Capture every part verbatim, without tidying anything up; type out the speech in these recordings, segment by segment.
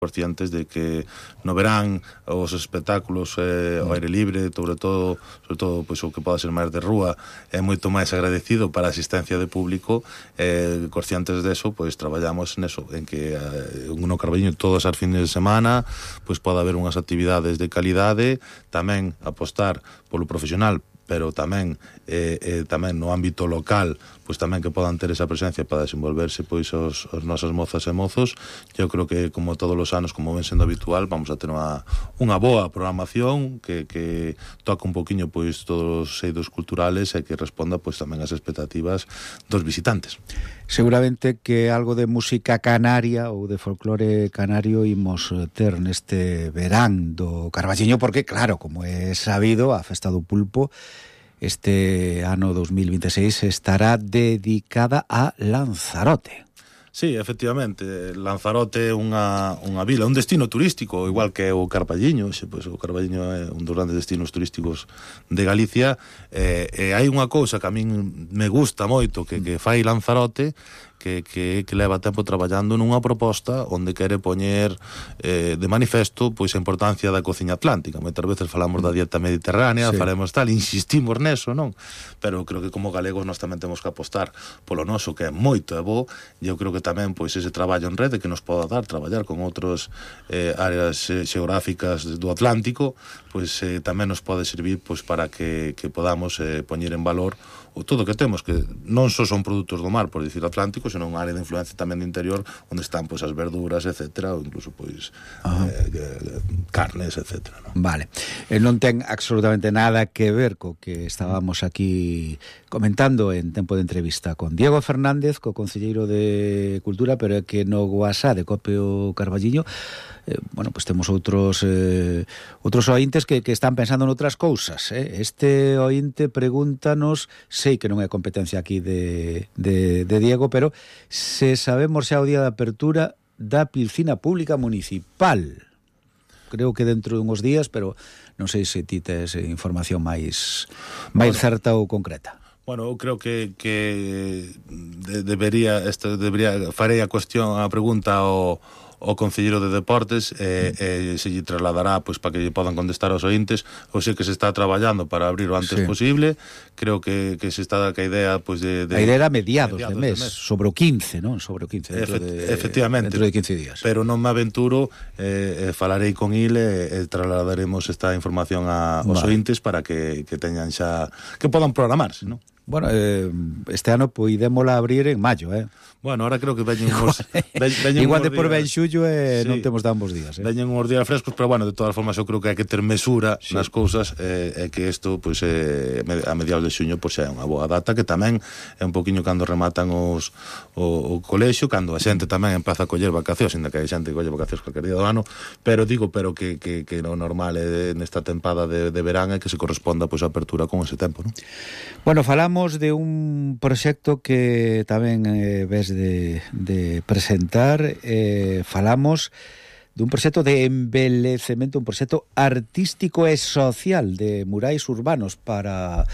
conscientes de que no verán os espectáculos eh, ao aire libre, sobre todo, sobre todo pois, o que poda ser máis de rúa, é moito máis agradecido para a asistencia de público. Eh, conscientes deso, pois traballamos neso, en que eh, no Carballiño todas as fines de semana pois poda haber unhas actividades de calidade, tamén apostar polo profesional, pero tamén eh, eh, tamén no ámbito local, pois tamén que podan ter esa presencia para desenvolverse pois os, os nosas mozas e mozos. Eu creo que como todos os anos, como ven sendo habitual, vamos a ter unha, unha boa programación que, que toca un poquinho pois todos os eidos culturales e que responda pois tamén ás expectativas dos visitantes. Seguramente que algo de música canaria ou de folclore canario imos ter neste verán do Carballiño, porque claro, como é sabido, a Festa do Pulpo este ano dos mil veintiséis estará dedicada a Lanzarote. Sí, efectivamente, Lanzarote é unha, unha vila, un destino turístico, igual que o Carballiño. Xe, pois, o Carballiño é un dos grandes destinos turísticos de Galicia, e, e hai unha cousa que a min me gusta moito que, que fai Lanzarote, que, que, que leva tempo traballando nunha proposta onde quere poñer eh, de manifesto pois a importancia da cociña atlántica. Moitas veces falamos da dieta mediterránea, sí, faremos tal, insistimos neso, non? Pero creo que como galegos nós tamén temos que apostar polo noso, que é moito e bo, e eu creo que tamén pois ese traballo en rede que nos poda dar traballar con outros eh, áreas eh, xeográficas do Atlántico, pois eh, tamén nos pode servir pois para que, que podamos eh, poñer en valor o todo que temos, que non só son produtos do mar, por dicir Atlántico, senón unha área de influencia tamén do interior, onde están pois as verduras, etcétera, ou incluso pois eh, carnes, etcétera, ¿no? Vale. Eh, non ten absolutamente nada que ver co que estábamos aquí comentando en tempo de entrevista con Diego Fernández, co concelleiro de Cultura, pero é que no WhatsApp de Copio Carballiño Eh, bueno, pues temos outros eh, outros ointes que, que están pensando noutras cousas, eh? Este ointe pregúntanos, sei que non é competencia aquí de, de, de Diego, pero se sabemos xa o día de apertura da piscina pública municipal. Creo que dentro de uns días, pero non sei se ti tes información máis máis bueno, certa ou concreta. Bueno, eu creo que, que de, debería, esto debería farei a cuestión, a pregunta ao o concelleiro de Deportes e eh, eh, se lle trasladará pois para que lle podan contestar aos ointes. Ou sei que se está traballando para abrir o antes sí. posible. Creo que, que se está ca idea pois de, de a idea era mediados, mediados de, mes, de mes, sobre o quince, non? Sobre o quince, dentro Efect, de efectivamente, dentro de quince días. Pero non me aventuro, eh, eh, falarei con il e eh, trasladaremos esta información a, aos vale. ointes para que, que teñan xa que podan programarse, non? Bueno, eh, este ano poidémola abrir en maio, eh? Bueno, ahora creo que veñen uns... Igual de por ben xullo e eh, sí, non temos dambos días, eh? Veñen uns días frescos, pero bueno, de todas formas eu creo que hai que ter mesura sí. nas cousas e eh, que isto, pois, eh, a mediados de xuño, pois, é unha boa data, que tamén é un poquinho cando rematan os o, o colexio, cando a xente tamén empeza a coller vacacións, ainda que hai xente que colle vacacións calquer día do ano, pero digo, pero que, que, que o normal é nesta tempada de, de verán é que se corresponda, pois, a apertura con ese tempo, non? Bueno, falamos de un proxecto que tamén eh, ves de, de presentar, eh, falamos dun proxecto de embelecemento, un proxecto artístico e social de murais urbanos para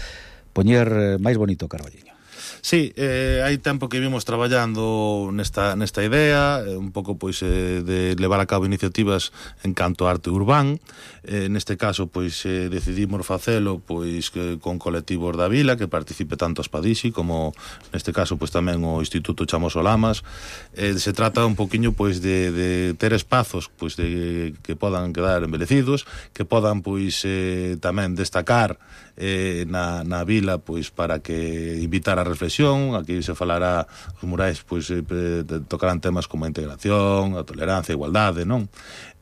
poñer máis bonito o Carballiño. Sí, eh, hai tempo que vimos traballando nesta, nesta idea, eh, un pouco pois eh, de levar a cabo iniciativas en canto a arte urbán. Eh, neste caso, pois eh, decidimos facelo pois que, con colectivos da vila, que participe tanto a Spadixi como neste caso pois tamén o Instituto Chamoso Lamas. Eh, se trata un poquinho pois de, de ter espazos pois de que podan quedar embelecidos, que podan pois eh, tamén destacar eh, na, na vila pois para que invitar a reflexión. Aquí se falará, os murais pois eh, tocarán temas como a integración, a tolerancia, a igualdade, non?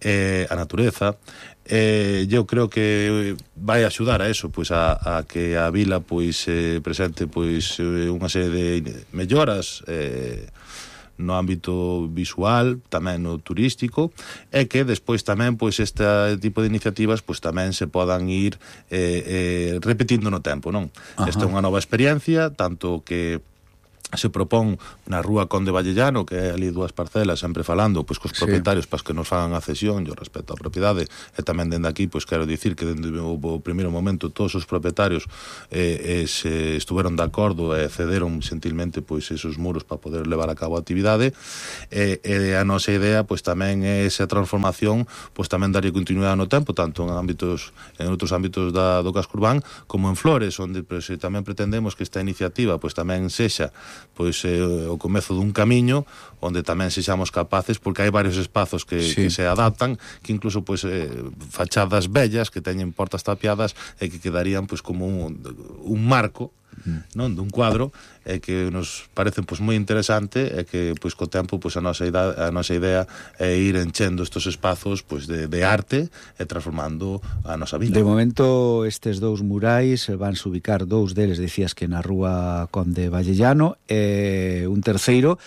Eh, a natureza. Eh, eu creo que vai axudar a eso, pois a, a que a vila pois eh, presente pois unha serie de melloras eh, no ámbito visual, tamén no turístico, e que despois tamén pois este tipo de iniciativas pois tamén se podan ir eh, eh, repetindo no tempo, non? Esta é unha nova experiencia, tanto que se propón na rúa Conde Vallellano, que é ali dúas parcelas, sempre falando pois cos propietarios, sí, para que nos fagan a cesión yo respecto á propiedade, e tamén dende aquí pois quero dicir que dende o, o primeiro momento todos os propietarios eh, eh, se estuveron de acordo e cederon gentilmente pois esos muros para poder levar a cabo a actividade, e, e a nosa idea pois tamén é esa transformación pois tamén darlle continuidade no tempo, tanto en ámbitos en outros ámbitos da, do casco urbán como en Flores, onde pois, tamén pretendemos que esta iniciativa pois tamén sexa pois eh, o comezo dun camiño onde tamén sexamos capaces, porque hai varios espazos que, sí, que se adaptan, que incluso pois eh, fachadas bellas que teñen portas tapiadas e que quedarían pois como un, un marco, mm, non, dun cuadro, e que nos parece pois moi interesante, e que pois co tempo pois a nosa idea, a nosa idea é ir enchendo estos espazos pois de, de arte e transformando a nosa vida. De momento estes dous murais van se ubicar, dous deles decías que na rúa Conde Vallellano, e un terceiro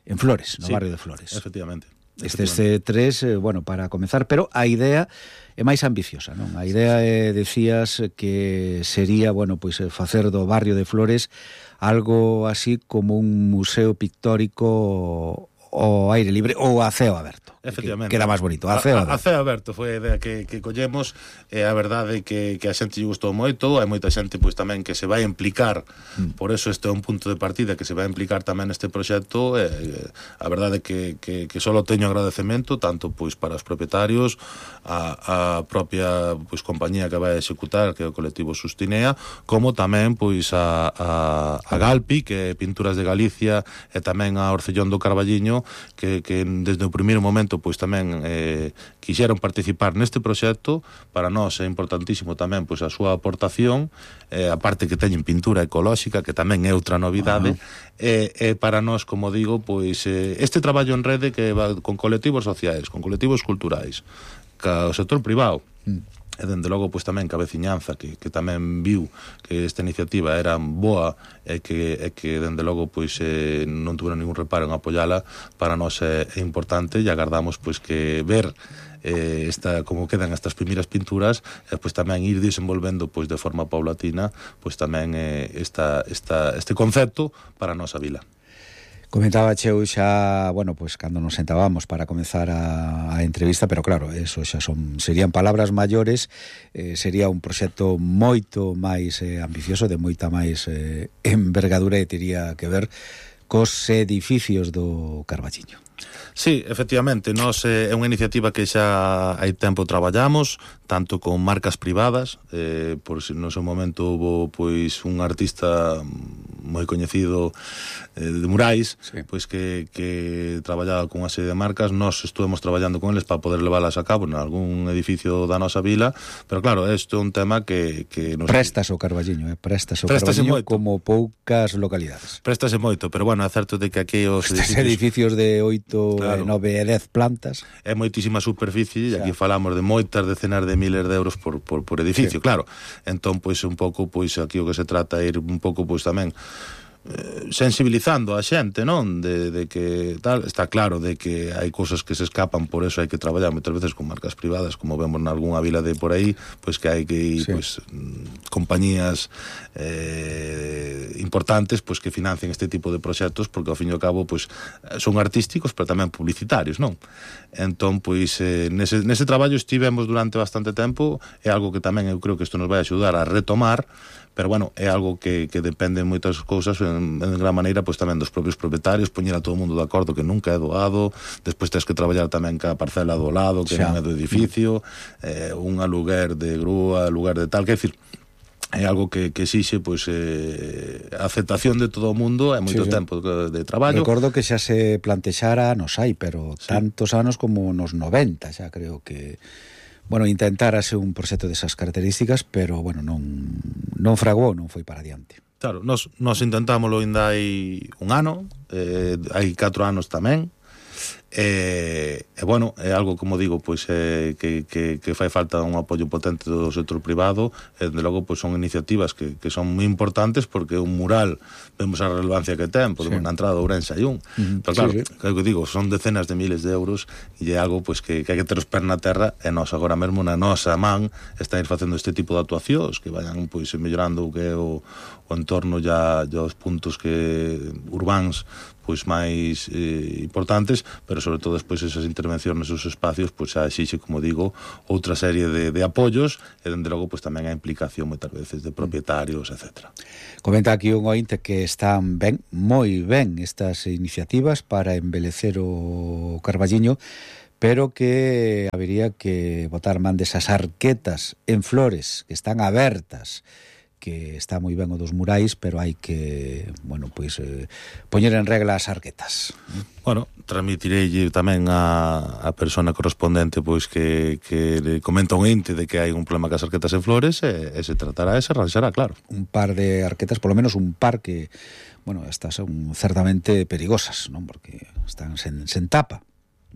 en Flores, no, sí, barrio de Flores. Efectivamente. Estes tres, eh, bueno, para comezar, pero a idea é máis ambiciosa, non? A idea é, decías, que sería, bueno, pois facer do barrio de Flores algo así como un museo pictórico ao aire libre ou a ceo aberto. Efectivamente. Que era máis bonito, a ceo aberto. A, a ceo aberto foi a idea que, que collemos, e a verdade que, que a xente lle gustou moito, hai moita xente pois tamén que se vai implicar, mm, por eso este é un punto de partida, que se vai implicar tamén neste proxecto, e a verdade que, que, que só teño agradecemento tanto pois para os propietarios, a, a propia pois compañía que vai a executar, que é o colectivo Sustinea, como tamén pois a, a, a Galpi, que é Pinturas de Galicia, e tamén a Orcellón do Carballiño, que, que desde o primeiro momento pois tamén eh, quixeron participar neste proxecto. Para nós é importantísimo tamén pois a súa aportación, eh, a parte que teñen pintura ecolóxica, que tamén é outra novidade, uh-huh, e, e para nós, como digo, pois eh, este traballo en rede que va con colectivos sociais, con colectivos culturais, ca o sector privado, mm, e dende logo pois tamén que a veciñanza que, que tamén viu que esta iniciativa era boa, e que, e que dende logo pois eh, non tuveron ningún reparo en apoiala, para nós é, é importante, e agardamos pois que ver eh, esta, como quedan estas primeiras pinturas, e pois tamén ir desenvolvendo pois de forma paulatina pois tamén eh, esta, esta, este concepto para a nosa vila. Comentaba cheu xa, bueno, pois cando nos sentábamos para comezar a, a entrevista, pero claro, eso xa son serían palabras maiores, eh, sería un proxecto moito máis eh, ambicioso, de moita máis eh, envergadura, e tería que ver cos edificios do Carballiño. Sí, efectivamente, nós eh, é unha iniciativa que xa hai tempo traballamos, tanto con marcas privadas, eh, por si no seu momento houve pois un artista moi coñecido eh, de murais, sí, pois que, que traballaba con unha serie de marcas. Nós estuvemos traballando con eles para poder leválas a cabo en algún edificio da nosa vila, pero claro, isto é un tema que, que nos... Prestas o Carballiño, eh? Prestas o Carballiño como poucas localidades. Préstase moito, pero bueno, é certo de que aquí os edificios, edificios de oito, claro, nove e dez plantas. É moitísima superficie, e aquí falamos de moitas decenas de miles de euros por, por, por edificio, sí, claro. Entón, pois, un pouco, pois, aquí o que se trata é ir un pouco, pois, tamén eh, sensibilizando a xente, non? De, de que tal, está claro de que hai cousas que se escapan, por eso hai que traballar moitas veces con marcas privadas, como vemos nalgúnha vila de por aí, pois que hai que ir, sí, pois, compañías eh, importantes, pois que financien este tipo de proxectos, porque ao fin e ao cabo, pois, son artísticos, pero tamén publicitarios, non? Entón, pois, eh, nese, nese traballo estivemos durante bastante tempo, é algo que tamén eu creo que isto nos vai axudar a retomar, pero bueno, é algo que, que depende de moitas cousas, en, en gran maneira pois tamén dos propios propietarios, poñer a todo o mundo de acordo que nunca é doado, despois tens que traballar tamén ca parcela do lado, que xa non é do edificio, eh, un aluguer de grúa, aluguer de tal, que é dicir, é algo que, que exixe pois eh, a aceptación de todo o mundo, é moito, sí, sí, tempo de, de traballo. Recordo que xa se plantexara nos hai, pero sí, tantos anos como nos noventa, xa creo que, bueno, intentarase un proxecto desas características, pero, bueno, non, non fragou, non foi para adiante. Claro, nos, nos intentámoslo ainda hai un ano, eh, hai catro anos tamén, E, e bueno, é algo, como digo, pois eh, que, que, que fai falta un apoio potente do sector privado, e de logo pois son iniciativas que, que son moi importantes, porque un mural vemos a relevancia que ten, porque sí. Na entrada de Ourense hai un, uh-huh. Pero claro, sí, sí. Que digo, son decenas de miles de euros, e é algo pois que, que hai que ter os pés na terra, e nós agora mesmo na nosa man está ir facendo este tipo de actuacións que vayan pois mellorando o que é o, o entorno ya, ya os puntos que urbáns pois máis eh, importantes, pero sobre todo despois esas intervencións nesos espacios pois xa exixe, como digo, outra serie de, de apoios, e dende logo pois tamén a implicación moitas veces de propietarios, etcétera. Comenta aquí un ointe que están ben, moi ben estas iniciativas para embelecer o Carballiño, pero que habería que botar man desas arquetas en flores que están abertas, que está moi ben o dos murais, pero hai que, bueno, pois eh, poñer en regla as arquetas. Bueno, transmitireille tamén a, a persona correspondente pois que, que le comenta un ente de que hai un problema cas arquetas en flores, e, e se tratará e se arranxará, claro. Un par de arquetas, polo menos un par que, bueno, estas son certamente perigosas, non? Porque están sen, sen tapa.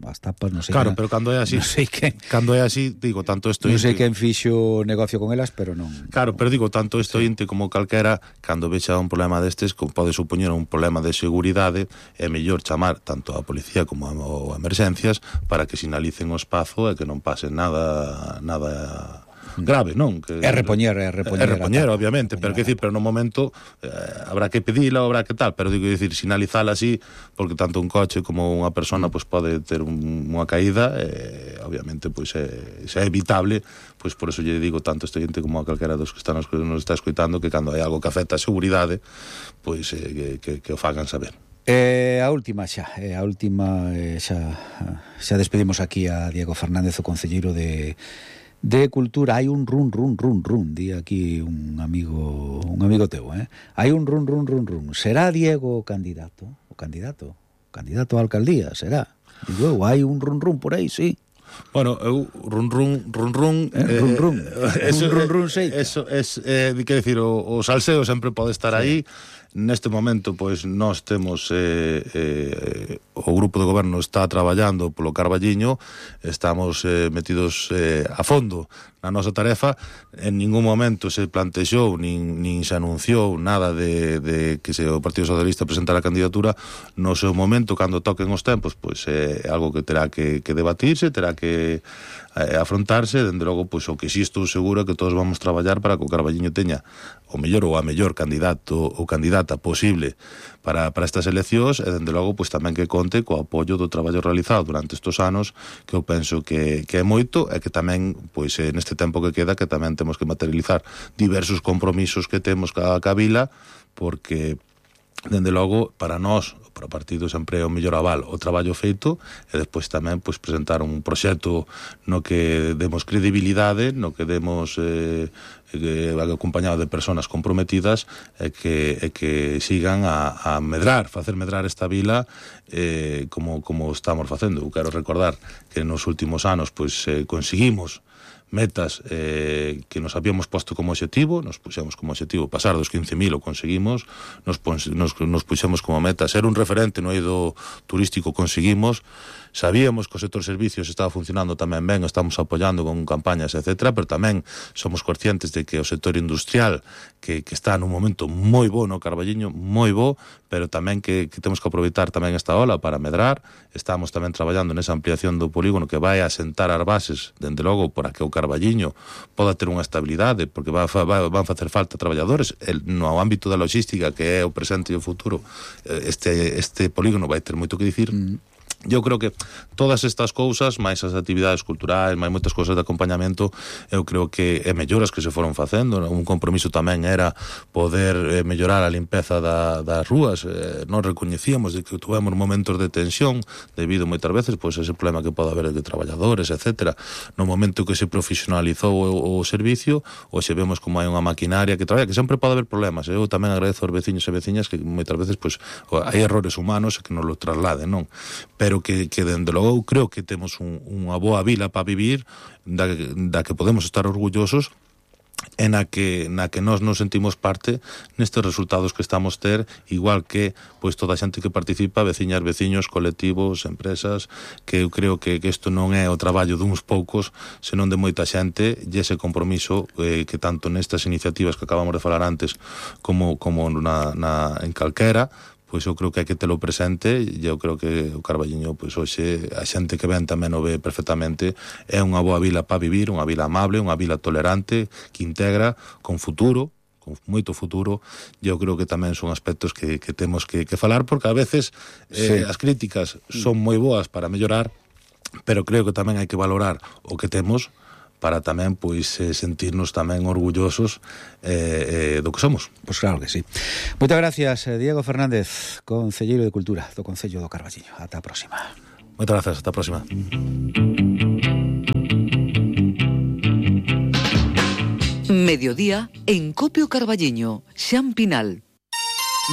As tapas, non sei. Claro, que, pero cando é así, non sei que, cando é así, digo, tanto isto non sei quen fixo negocio con elas, pero non. Claro, pero digo, tanto isto ente como calquera, cando vexa un problema destes, como pode supoñer un problema de seguridade, é mellor chamar tanto a policía como a, a emerxencias para que sinalicen o espazo e que non pase nada nada grave, non? Que, é repoñer, é repoñer. É repoñer, obviamente, pero que decir, pero no momento eh, habrá que pedila, habrá que tal, pero digo, decir, sinalizala así, porque tanto un coche como unha persona pois pode ter un, unha caída, eh, obviamente pois é, é evitable, pois por eso lle digo tanto este gente como a calquera dos que están nos, nos está escoitando, que cando hai algo que afecta a seguridade, pois eh, que, que, que o fagan saber. Eh, a última xa, eh, a última eh, xa, xa despedimos aquí a Diego Fernández, o concelleiro de de Cultura. Hai un run, run, run, run, di aquí un amigo un amigo teu, eh? Hai un run, run, run, run. Será Diego o candidato? O candidato? O candidato a alcaldía, será? Digo, hai un run, run por aí, sí. Bueno, eu run run run run eh, run run eh, eso, run run sei. Eso es eh, que decir, o, o salseo sempre pode estar sí. Aí. Neste momento, pois, nós temos eh, eh, o grupo de goberno está traballando polo Carballiño, estamos eh, metidos eh, a fondo na nosa tarefa. En ningún momento se plantexou nin, nin se anunciou nada de, de que se o Partido Socialista presentara a candidatura. No seu momento, cando toquen os tempos, pois é eh, algo que terá que, que debatirse, terá que eh, afrontarse. Dende logo, pois, o que si estou seguro é que todos vamos traballar para que o Carballiño teña o mellor ou a mellor candidato ou candidata posible para, para estas eleccións, e dende logo pois tamén que conte co apoio do traballo realizado durante estes anos, que eu penso que, que é moito, e que tamén pois neste tempo que queda, que tamén temos que materializar diversos compromisos que temos ca, ca vila, porque dende logo para nós, para o partido, sempre é o mellor aval o traballo feito, e despois tamén pois presentar un proxecto no que demos credibilidade, no que demos eh, eh, acompañado de personas comprometidas, e que, e que sigan a, a medrar, facer medrar esta vila eh, como, como estamos facendo. Eu quero recordar que nos últimos anos pois eh, conseguimos metas eh, que nos habíamos posto como objetivo. Nos puxemos como objetivo pasar dos quince mil, o conseguimos. Nos, nos, nos puxemos como meta ser un referente no eido turístico, conseguimos. Sabíamos que o sector servicios estaba funcionando tamén ben, estamos apoiando con campañas, etcétera, pero tamén somos conscientes de que o sector industrial, que, que está nun momento moi bo no Carballiño, moi bo, pero tamén que, que temos que aproveitar tamén esta ola para medrar. Estamos tamén traballando nesa ampliación do polígono que vai a sentar as bases, dende logo, para que o Carballiño poda ter unha estabilidade, porque va, va, van facer falta traballadores. El, no ámbito da logística, que é o presente e o futuro, este, este polígono vai ter moito que dicir. Mm. Eu creo que todas estas cousas, máis as actividades culturais, máis moitas cousas de acompañamento, eu creo que é melloras que se foron facendo. Un compromiso tamén era poder eh, mellorar a limpeza da, das rúas. Eh, non recoñecíamos de que tuvemos momentos de tensión debido moitas veces pois ese problema que pode haber de traballadores, etcétera. No momento que se profesionalizou o, o servicio, hoxe vemos como hai unha maquinaria que traballa, que sempre pode haber problemas. Eu tamén agradezo aos veciños e veciñas que moitas veces pois hai errores humanos que nos lo trasladen, non? Pero que, que dende logo creo que temos un, unha boa vila para vivir, da, da que podemos estar orgullosos, e na que, na que nós nos sentimos parte nestes resultados que estamos ter, igual que pois toda a xente que participa, veciñas, veciños, colectivos, empresas, que eu creo que, que isto non é o traballo duns poucos, senón de moita xente, e ese compromiso eh, que tanto nestas iniciativas que acabamos de falar antes como, como na, na, en calquera, pois eu creo que hai que telo presente, e eu creo que o Carballiño, pois hoxe a xente que ven tamén o ve perfectamente, é unha boa vila para vivir, unha vila amable, unha vila tolerante, que integra, con futuro, con moito futuro, e eu creo que tamén son aspectos que, que temos que, que falar, porque a veces eh, sí. as críticas son moi boas para mellorar, pero creo que tamén hai que valorar o que temos, para tamén pois eh, sentirnos tamén orgullosos eh, eh, do que somos. Pois claro que sí. Moitas gracias, Diego Fernández, concelleiro de Cultura do Concello do Carballiño. Ata a próxima. Moitas gracias, ata a próxima. Mediodía en Copio Carballiño, Xan Pinal.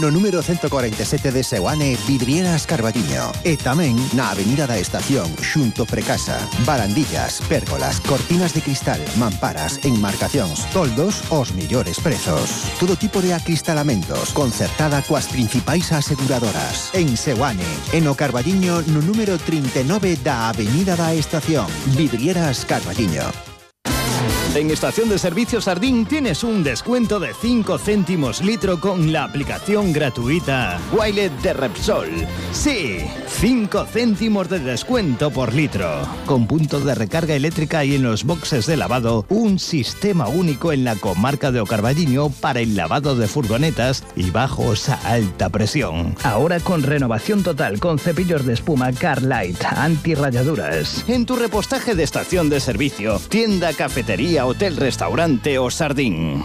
No número ciento cuarenta y siete de Seoane, Vidrieras Carballiño. E tamén na Avenida da Estación, xunto Precasa. Barandillas, pérgolas, cortinas de cristal, mamparas, enmarcacións, toldos, os mellores prezos. Todo tipo de acristalamentos, concertada coas principais aseguradoras. En Seoane, en o Carballiño, no número trinta e nove da Avenida da Estación. Vidrieras Carballiño. En Estación de Servicios Sardín tienes un descuento de cinco céntimos litro con la aplicación gratuita Wilet de Repsol. Sí, cinco céntimos de descuento por litro. Con punto de recarga eléctrica y en los boxes de lavado, un sistema único en la comarca de O Carballiño para el lavado de furgonetas y bajos a alta presión. Ahora con renovación total con cepillos de espuma Carlight, antirrayaduras. En tu repostaje de estación de servicio, tienda, cafetería, hotel, restaurante o Sardín.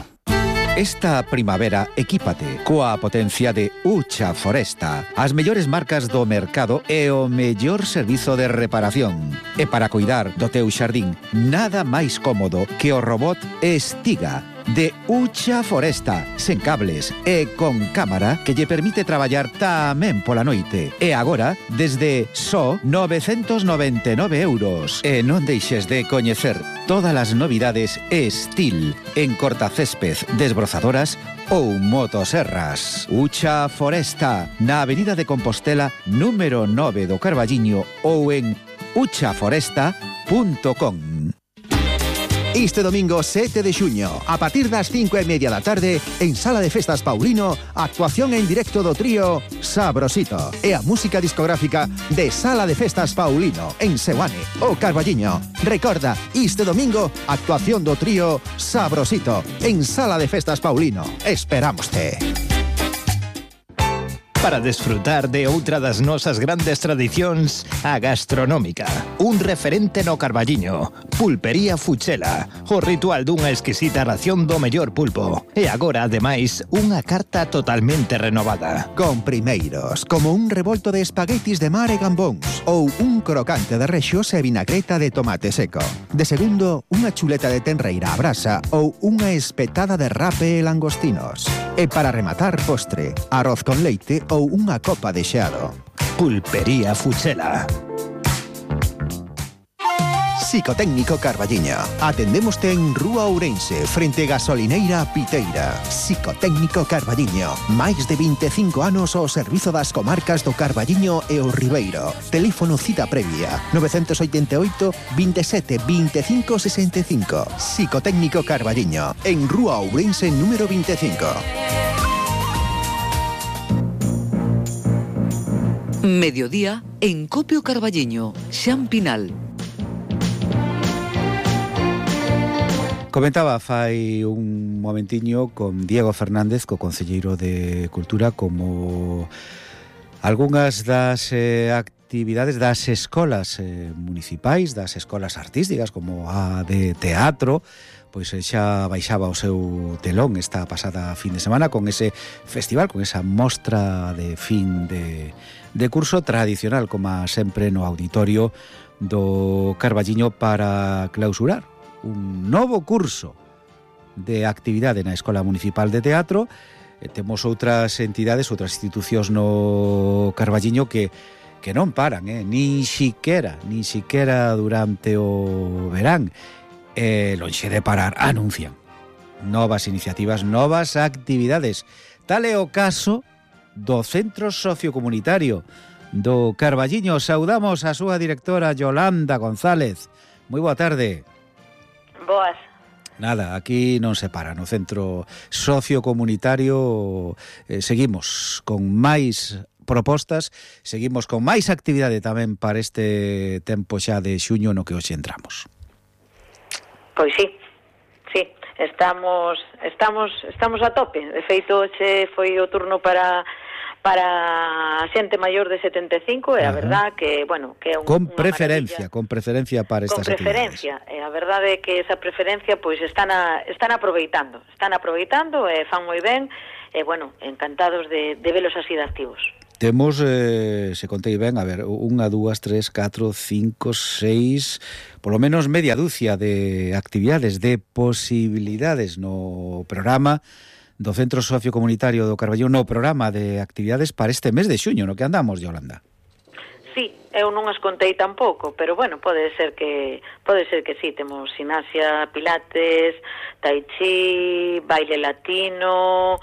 Esta primavera, equípate coa potencia de Ucha Foresta, as mellores marcas do mercado e o mellor servizo de reparación. E para cuidar do teu xardín, nada máis cómodo que o robot Estiga de Ucha Foresta, sen cables e con cámara que lle permite traballar tamén pola noite. E agora, desde só novecentos noventa e nove euros. E non deixes de coñecer todas as novidades Estil en cortacésped, desbrozadoras ou motoserras. Ucha Foresta, na Avenida de Compostela, número nove do Carballiño ou en ucha foresta punto com. Este domingo sete de xuño, a partir das cinco e media da tarde, en Sala de Festas Paulino, actuación en directo do trío Sabrosito e a música discográfica de Sala de Festas Paulino, en Seoane, O Carballiño. Recorda, este domingo, actuación do trío Sabrosito, en Sala de Festas Paulino. Esperámoste. Para desfrutar de outra das nosas grandes tradicións, a gastronómica. Un referente no Carballiño, Pulpería Fuchela, o ritual dunha exquisita ración do mellor pulpo. E agora, ademais, unha carta totalmente renovada. Con primeiros, como un revolto de espaguetis de mar e gambóns, ou un crocante de rexos e vinagreta de tomate seco. De segundo, unha chuleta de tenreira a brasa ou unha espetada de rape e langostinos. E para rematar, postre, arroz con leite ou unha copa de xeado. Pulpería Fuchela. Psicotécnico Carballiño. Atendémoste en Rúa Ourense, frente Gasolineira Piteira. Psicotécnico Carballiño. Máis de vinte e cinco anos ao servizo das comarcas do Carballiño e o Ribeiro. Teléfono cita previa novecientos oitenta e oito, veintisiete, veinticinco, sesenta e cinco. Psicotécnico Carballiño. En Rúa Ourense número veinticinco. Mediodía en Copio Carballiño, Xan Pinal. Comentaba fai un momentiño con Diego Fernández, co concelleiro de Cultura, como algunhas das eh, actividades das escolas eh, municipais, das escolas artísticas, como a de teatro, pois xa baixaba o seu telón esta pasada fin de semana con ese festival, con esa mostra de fin de, de curso tradicional, como sempre no auditorio do Carballiño, para clausurar un novo curso de actividade na Escola Municipal de Teatro. E temos outras entidades, outras institucións no Carballiño que que non paran, eh? nin siquera, nin siquera durante o verán. E lonxe de parar, anuncian novas iniciativas, novas actividades. Tal é o caso do Centro Sociocomunitario do Carballiño. Saudamos a súa directora Yolanda González. Moi boa tarde. Boas. Nada, aquí non se para no Centro Sociocomunitario. Eh, seguimos con máis propostas, seguimos con máis actividade tamén para este tempo xa de xuño no que hoxe entramos. Pois sí, sí, estamos estamos estamos a tope. De feito, hoxe foi o turno para para a xente maior de setenta e cinco, e a verdad que, bueno, que é un, con preferencia, con preferencia para estas con preferencia, actividades. E a verdade é que esa preferencia pois están a, están aproveitando, están aproveitando e fan moi ben, e bueno, encantados de, de velos así de activos. Temos, eh, se contei ben, a ver, unha, dúas, tres, catro, cinco, seis, polo menos media dúcia de actividades, de posibilidades no programa do Centro Sociocomunitario do Carballiño, no programa de actividades para este mes de xuño, no que andamos, Yolanda. Sí, eu non as contei tampouco, pero bueno, pode ser que pode ser que sí, temos gimnasia, pilates, tai chi, baile latino,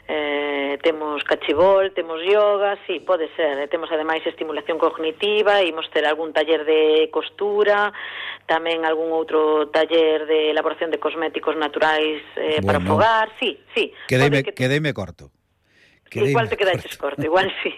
eh, temos cachibol, temos yoga, sí, pode ser. E temos ademais estimulación cognitiva, imos ter algún taller de costura, tamén algún outro taller de elaboración de cosméticos naturais eh, bueno, para fogar, sí, sí. Quedeime, que... quedeime corto. Quedeime igual te quedaches corto, igual sí.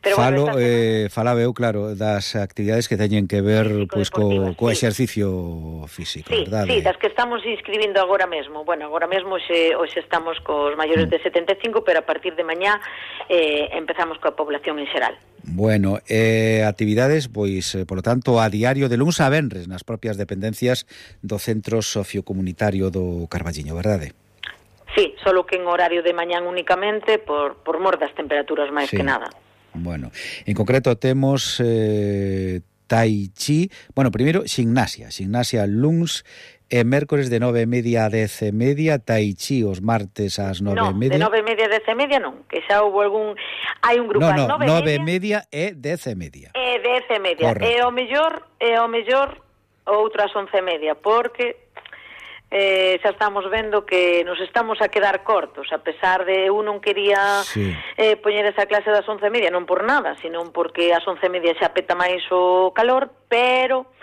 Pero Falo, bueno, eh, falaba eu, claro, das actividades que teñen que ver pois co, co sí. exercicio físico, sí, verdade? Sí, das que estamos inscribindo agora mesmo. Bueno, agora mesmo xe, hoxe estamos cos maiores mm. de setenta e cinco, pero a partir de mañá eh, empezamos coa población en xeral. Bueno, eh, actividades, pois, eh, por lo tanto, a diario de luns a venres nas propias dependencias do Centro Sociocomunitario do Carballiño, verdade? Sí, solo que en horario de mañán únicamente por, por mor das temperaturas máis sí. que nada. Bueno, en concreto temos eh, tai chi, bueno, primeiro gimnasia, gimnasia luns e mércores de nove e media a dez e media, tai chi os martes ás nove e media. No, de nove e media a dez e media non, que xa houve algún, hai un grupo no, no, ás nove e media e dez e media. E dez e media, e o mellor, e o mellor outras once e media, porque Eh, xa estamos vendo que nos estamos a quedar cortos, a pesar de eu non quería sí. eh, poñer esa clase das once e media, non por nada, senón porque ás once e media xa peta máis o calor, pero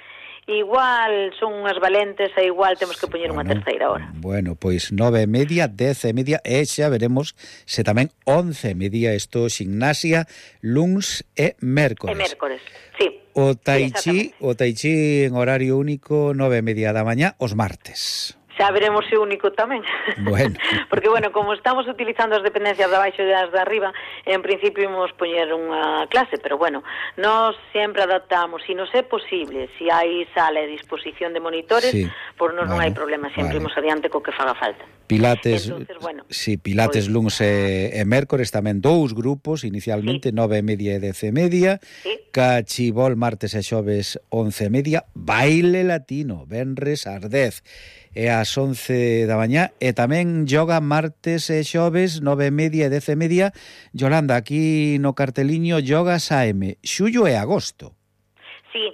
igual son unhas valentes e igual temos que poñer bueno, unha terceira hora. Bueno, pois nove e media, dez e media e xa veremos se tamén once e media isto gimnasia, luns e mércores. E mércores, sí. O tai chi, sí, o tai chi en horario único nove e media da mañá os martes. Xa veremos se único tamén. Bueno. Porque, bueno, como estamos utilizando as dependencias de abaixo e as de arriba, en principio imos poñer unha clase, pero, bueno, nós sempre adaptamos, se nos é posible, se hai sala e disposición de monitores, sí. por nos bueno, non hai problema, sempre vale. Imos adiante co que faga falta. Pilates, Entonces, bueno, sí, Pilates pues, luns e, e mércores, tamén dous grupos, inicialmente, sí. nove e media e dez e media, sí. Cachibol, martes e xoves, once e media, baile latino, venres ás dez e ás once da mañá, e tamén yoga martes e xoves, nove e media e dez e media. Yolanda, aquí no carteliño, yogas A M, xullo e agosto. Sí,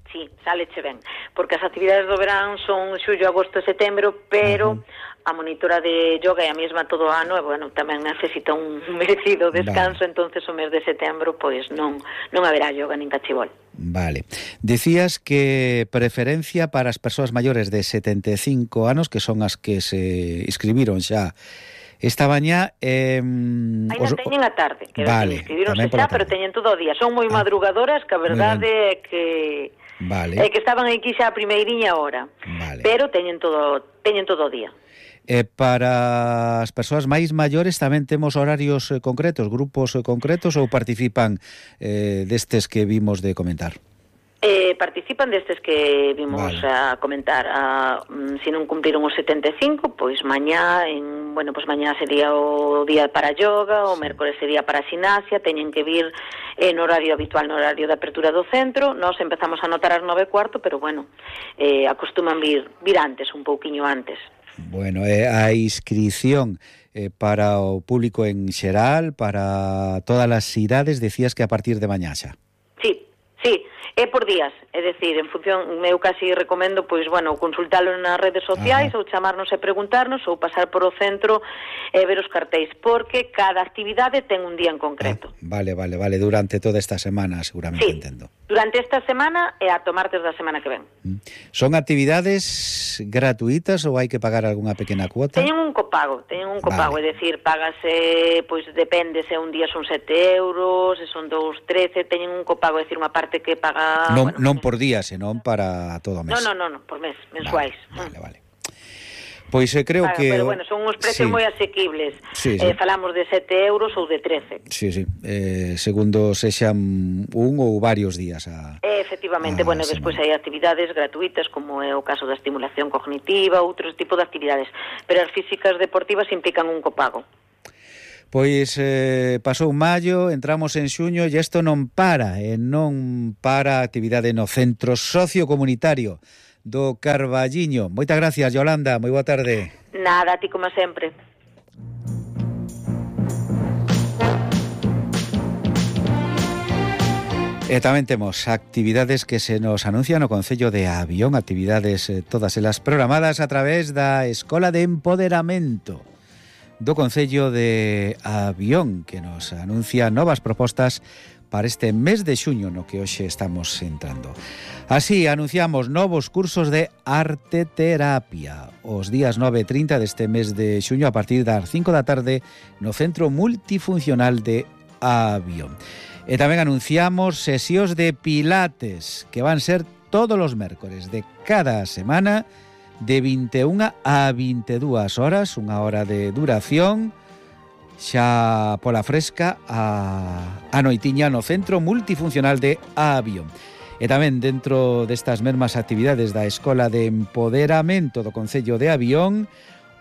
sí, sáleche ben, porque as actividades do verán son xullo, agosto e setembro, pero uh-huh. a monitora de yoga é a mesma todo o ano, e, bueno, tamén necesita un merecido descanso, vale. Entonces o mes de setembro, pois non, non haberá yoga nin cachibol. Vale. Decías que preferencia para as persoas maiores de setenta e cinco anos, que son as que se inscribiron xa esta mañá. Eh, Ainda os... teñen a tarde, que vale, inscribironse xa, pero teñen todo o día. Son moi ah, madrugadoras, que a verdade é que vale. é que estaban aquí xa a primeiriña hora, vale. Pero teñen todo, teñen todo o día. E para as persoas máis maiores tamén temos horarios eh, concretos, grupos eh, concretos, ou participan eh, destes que vimos de comentar? Eh, participan destes que vimos vale. a comentar. A, um, se non cumpliron os setenta e cinco, pois mañá, en, bueno, pois mañá sería o día para yoga, o mércores sería para ximnasia, teñen que vir en horario habitual, no horario de apertura do centro. Nós empezamos a anotar ás nove e cuarto, pero bueno, eh, acostuman vir, vir antes, un pouquiño antes. Bueno, eh, a inscripción eh, para o público en xeral, para todas as idades, decías que a partir de mañá xa. Sí, Sí, é por días, é dicir, en función, eu casi recomendo, pois, bueno, consultalo nas redes sociais, Ajá. ou chamarnos e preguntarnos, ou pasar por o centro e ver os cartéis, porque cada actividade ten un día en concreto. Ah, vale, vale, vale, durante toda esta semana, seguramente, sí, entendo. Durante esta semana e ata martes da semana que ven. Son actividades gratuitas ou hai que pagar algunha pequena cuota? Teñen un copago, teñen un copago, vale. É dicir, págase, pois depende, se un día son sete euros, se son dous, trece, teñen un copago, é dicir, unha parte que paga... Non, bueno, non por día, senón para todo o mes. Non, non, non, no, por mes, mensuais. Vale, vale, vale. Pois eh, creo Paga, que... Pero bueno, son uns precios sí. moi asequibles. Sí, sí. Eh, falamos de sete euros ou de trece. Sí, sí, eh, segundo sexan un ou varios días a... Eh, efectivamente, a bueno, semana. Despois hai actividades gratuitas, como é o caso da estimulación cognitiva, outros tipos de actividades, pero as físicas deportivas implican un copago. Pois eh, pasou maio, entramos en xuño e isto non para, e non para a actividade no centro sociocomunitario do Carballiño. Moitas gracias, Yolanda, moi boa tarde. Nada, a ti como sempre. E tamén temos actividades que se nos anuncian no Concello de Avión, actividades eh, todas elas programadas a través da Escola de Empoderamento do Concello de Avión, que nos anuncia novas propostas para este mes de xuño no que hoxe estamos entrando. Así, anunciamos novos cursos de arteterapia os días nove e trinta deste mes de xuño a partir das cinco da tarde no Centro Multifuncional de Avión. E tamén anunciamos sesións de pilates que van ser todos os mércores de cada semana de vinte e unha a vinte e dúas horas, unha hora de duración, xa pola fresca a, a noitiña no Centro Multifuncional de Avión. E tamén dentro destas mesmas actividades da Escola de Empoderamento do Concello de Avión,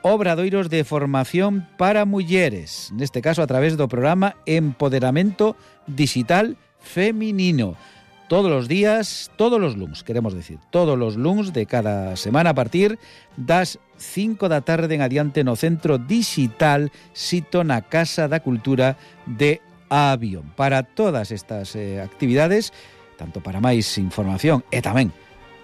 obradoiros de formación para mulleres, neste caso a través do programa Empoderamento Digital Feminino. Todos os días, todos os luns, queremos decir, todos os luns de cada semana a partir das cinco da tarde en adiante no Centro Digital sito na Casa da Cultura de Avión. Para todas estas eh, actividades, tanto para máis información e tamén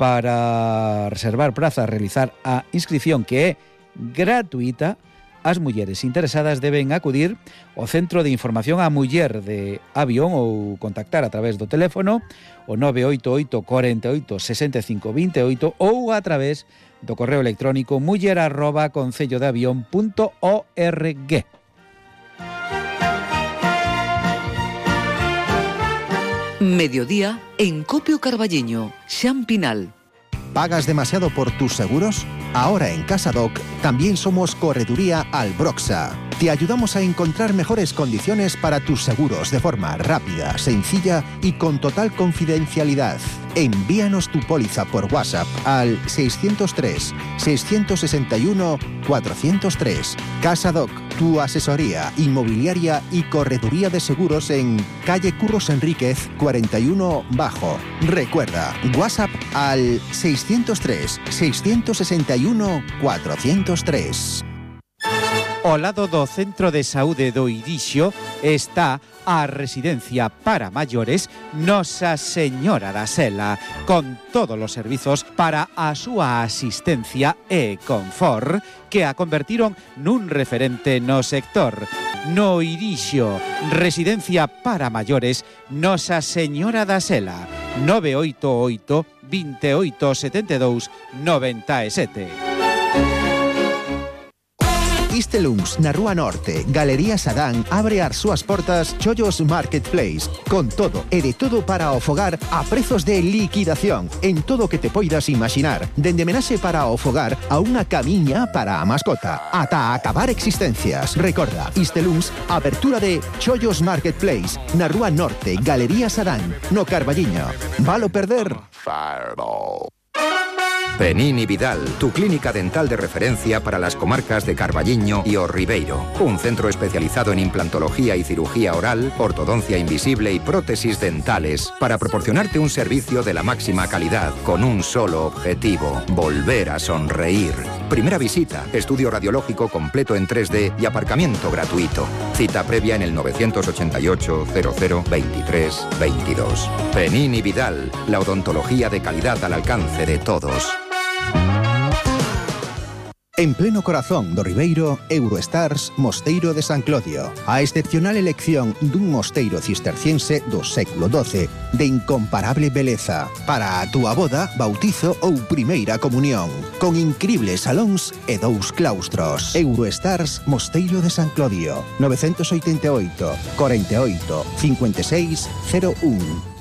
para reservar praza, realizar a inscripción que é gratuita, as mulleres interesadas deben acudir ao Centro de Información á Muller de Avión ou contactar a través do teléfono o nove oito oito, cuarenta e oito, sesenta e cinco, veintiocho ou a través do correo electrónico muller arroba concello de avión punto org. Mediodía en Copio Carballiño, Xan Pinal. ¿Pagas demasiado por tus seguros? Ahora en CasaDoc también somos Correduría Albroxa. Te ayudamos a encontrar mejores condiciones para tus seguros de forma rápida, sencilla y con total confidencialidad. Envíanos tu póliza por WhatsApp al seiscientos tres, seiscientos sesenta y uno, cuatrocientos tres. CasaDoc, tu asesoría inmobiliaria y correduría de seguros en calle Curros Enríquez cuarenta y uno Bajo. Recuerda, WhatsApp al seiscientos tres, seiscientos sesenta y uno, cuatrocientos tres. Ao lado do Centro de Saúde do Irixo está a residencia para maiores Nosa Señora da Sela, con todos os servizos para a súa asistencia e confort que a convertiron nun referente no sector. No Irixo, residencia para maiores Nosa Señora da Sela, nove oito oito, veintiocho, setenta e dous, noventa e sete. Istelungs, na Rúa Norte, Galería Sadán, abre as súas portas Chollos Marketplace, con todo e de todo para o fogar a prezos de liquidación, en todo o que te poidas imaginar, dende menaxe para o fogar a unha camiña para a mascota, ata acabar existencias. Recorda, Istelungs, apertura de Chollos Marketplace, na Rúa Norte, Galería Sadán, no Carballiño. Valo perder? Fireball. Penini Vidal, tu clínica dental de referencia para las comarcas de Carballiño y O Ribeiro. Un centro especializado en implantología y cirugía oral, ortodoncia invisible y prótesis dentales para proporcionarte un servicio de la máxima calidad con un solo objetivo: volver a sonreír. Primera visita, estudio radiológico completo en tres D y aparcamiento gratuito. Cita previa en el nueve ocho ocho, cero cero, veintitrés, veintidós. Penín y Vidal, la odontología de calidad al alcance de todos. En pleno corazón do Ribeiro, Eurostars Mosteiro de San Clodio. A excepcional elección dun mosteiro cisterciense do século doce, de incomparable beleza, para a túa boda, bautizo ou primeira comunión, con incribles salóns e dous claustros. Eurostars Mosteiro de San Clodio, nove oito oito, cuarenta y ocho, cincuenta y seis, cero uno.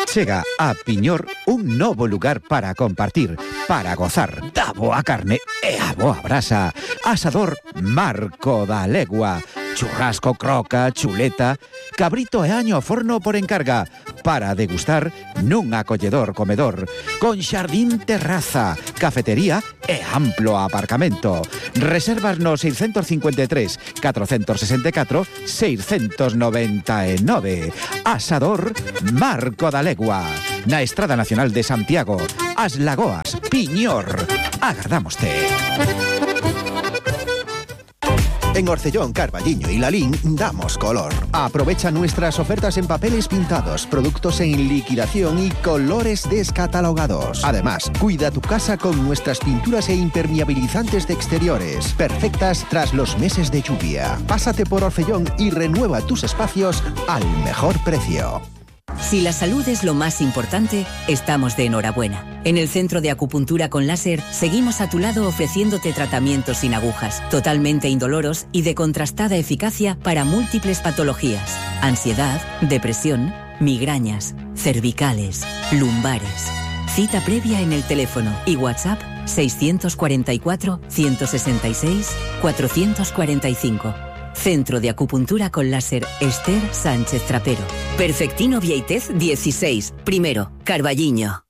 Chega a Piñor un novo lugar para compartir, para gozar da boa carne e a boa brasa. Asador Marco da Legua. Churrasco, croca, chuleta, cabrito e año ao forno por encarga, para degustar nun acolledor comedor, con xardín terraza, cafetería e amplo aparcamento. Reservas no seiscentos cincuenta y tres, cuatrocientos sesenta y cuatro, seiscientos noventa y nueve. Asador Marco da Legua, na Estrada Nacional de Santiago, As Lagoas, Piñor. Agardámoste. En Orcellón, Carballiño y Lalín damos color. Aprovecha nuestras ofertas en papeles pintados, productos en liquidación y colores descatalogados. Además, cuida tu casa con nuestras pinturas e impermeabilizantes de exteriores, perfectas tras los meses de lluvia. Pásate por Orcellón y renueva tus espacios al mejor precio. Si la salud es lo más importante, estamos de enhorabuena. En el Centro de Acupuntura con Láser seguimos a tu lado ofreciéndote tratamientos sin agujas, totalmente indoloros y de contrastada eficacia para múltiples patologías: ansiedad, depresión, migrañas, cervicales, lumbares. Cita previa en el teléfono y WhatsApp seiscientos cuarenta y cuatro, ciento sesenta y seis, cuatrocientos cuarenta y cinco. Centro de Acupuntura con Láser Esther Sánchez Trapero. Perfectino Vieitez dieciséis, primero, Carballiño.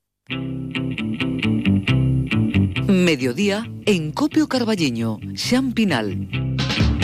Mediodía en Copio Carballiño, Xampinal.